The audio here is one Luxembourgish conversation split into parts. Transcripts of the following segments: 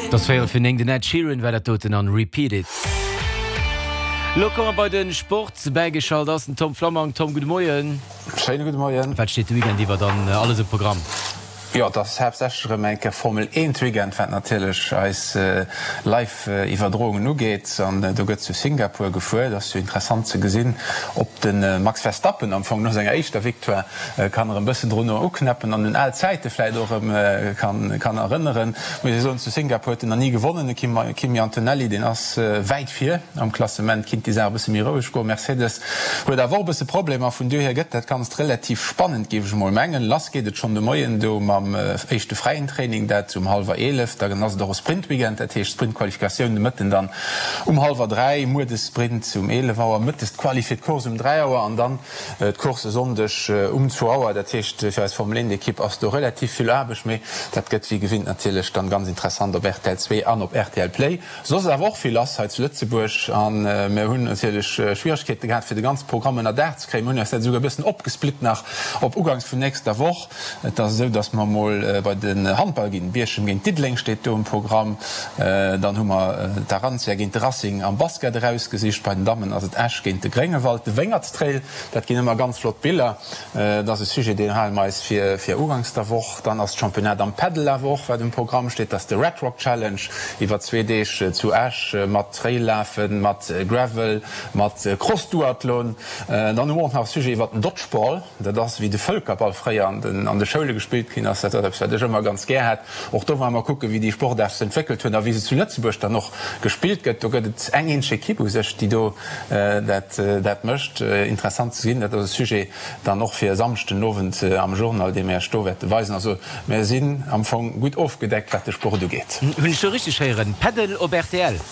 Et ass véierel fir 9, den Ed Sheeran war dat doten an Repeat It. Lo komme mer bei de Sport. Bäigeschalt ass den Tom Flammang. Tom, gudde Moien. Schéine gudde Moien. Wat steet de Weekend iwwer dann alles um Programm? Jo, et ass haaptsächlech erëm eng Kéier Formel 1 Weekend, wat natierlech eis Live Iwwerdroungen ugeet. An do gëtt zu Singapur gefuer. Et ass jo interessant ze gesinn, ob de Max Verstappen am Fong no senger éischter Victoire kann erëm bëssen drun uknäppen an un al Zäite vläit och erëm kann erënneren. Muss ee soen, zu Singapur huet en nach ni gewonnen, de Kimi Antonelli, deen ass wäit vir am Klassement, kinnt déi Saach e bësse méi roueg goen. Mercedes huet awer och e bësse Problemer, vun dohier gëtt dat Ganzt relativ spannend, géif ech emol mengen. Lass geet et schonn de Moien do mam éischte fräien Training, dat um hallwer 11. Dann ass et och e Sprint-Weekend, dat heescht Sprint-Qualifikatioun de Mëtten dann um hallwer 3, muer de Sprint um 11 Auer, mëttes d'Quali fir d'Course um 3 Auer an dann D'Course e Sonndeg um zwou Auer, dat heescht fir eis Formel 1 Ekipp ass do relativ vill Aarbecht, mee dat gëtt wéi gewinnt natierlech dann ganz interessant op rtl 2 an op rtl Play. Soss ass awer och vill lass hei zu Lëtzebuerg an mir hunn natierlech Schwieregkeete gehat fir de ganze Programm ënner Daach ze kréien. Mir hunn eis dat esouguer e bëssen opgesplitt nach op ugangs vun nächster Woch. Et ass esou, datt mer emol bei den Handball ginn. Bierchem géint Diddeleng steet do um Programm. Dann hu mer d'Arantia géint de Racing am Basket erausgesicht. Bei den Dammen ass et Esch géint de Gréngewald. De Wéngertstrail, dat ginn ëmmer ganz flott Biller. Dat ass e Sujet, deen hale mer eis fir fir uganks der Woch. Dann ass d'Championnat am Paddle awer och, wat um Programm steet. Dat ass de Red Rock Challenge iwwer zwee Deeg zu Esch mat Trail-Lafen, mat Gravel, mat Cross-Duathlon. Dann hu mer och nach e Sujet iwwer den Dodgeball. Dat ass wéi de Vëlkerball fréier an de Schoule gespillt ginn ass. Dat ass eppes, wat ech ëmmer ganz gär hat. Och do ware mer kucken, wéi déi Sportaart sech entwéckelt huet a wéi se zu Lëtzebuerg dann och gespillt gëtt. Do gëtt et eng eenzeg Ekipp u sech, déi do dat mécht. Interessant ze gesinn. Dat ass e Sujet dann och fir e Samschden Owend am Journal, dee mir Iech do wäerte weisen. Also mir sinn am Fong gutt ofgedeckt, wat de Sport ugeet. Hunn ech do richteg héieren? Paddle op rtl?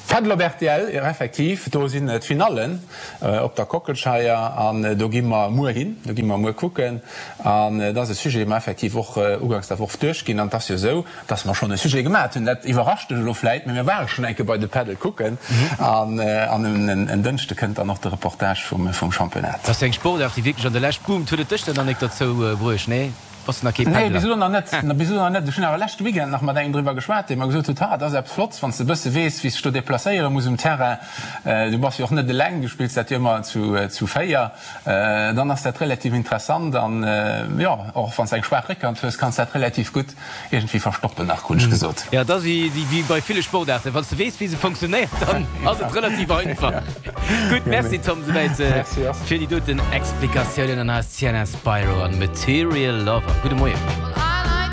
Paddle op rtl, jo effektiv, do sinn d'Finallen op der Kockelscheier an do gi mer muer hin, do gi mer muer kucken an et ass e Sujet, dee mer effektiv och uganks der Woch duerchginn an et ass jo esou, dass mer schonn e Sujet gemat hunn, dat iwwerrascht dech elo vläit, mee mir ware schonn eng Kéier bei de Paddle kucken an en Dënschde kënnt dann och de Reportage vum Championnat. Dat ass jo eng Sportaart, déi wierklech an der Lescht boomt. Huet et dech dann nach nik derzou bruecht, nee? Bass de nach kee Nee, Paddler? bis elo nach net. Bis elo nach net. Ech hunn awer leschte Weekend nach mat engem driwwer geschwat, dee mer gesot huet, Ha, et ass eppes Flotts, wann s de e bësse weess, wéi s dech do deplacéiere muss um Terrain. Du bass jo och net eleng, du spills dat jo ëmmer zu 4. Dann ass dat relativ interessant an, jo, och wann s de eng schwaach Réckhand hues, kanns dat relativ gutt iergendwéi verstoppen nach, krut ech gesot. Jo, et ass wéi bei ville Sportaarten, wann s de weess, wéi se funktionéiert, dann ass et relativ einfach. Gutt, Merci Tom, souwäit fir déi doten Explikatiounen an eis Sienna Spiro an Material Lover. Gudde Moien.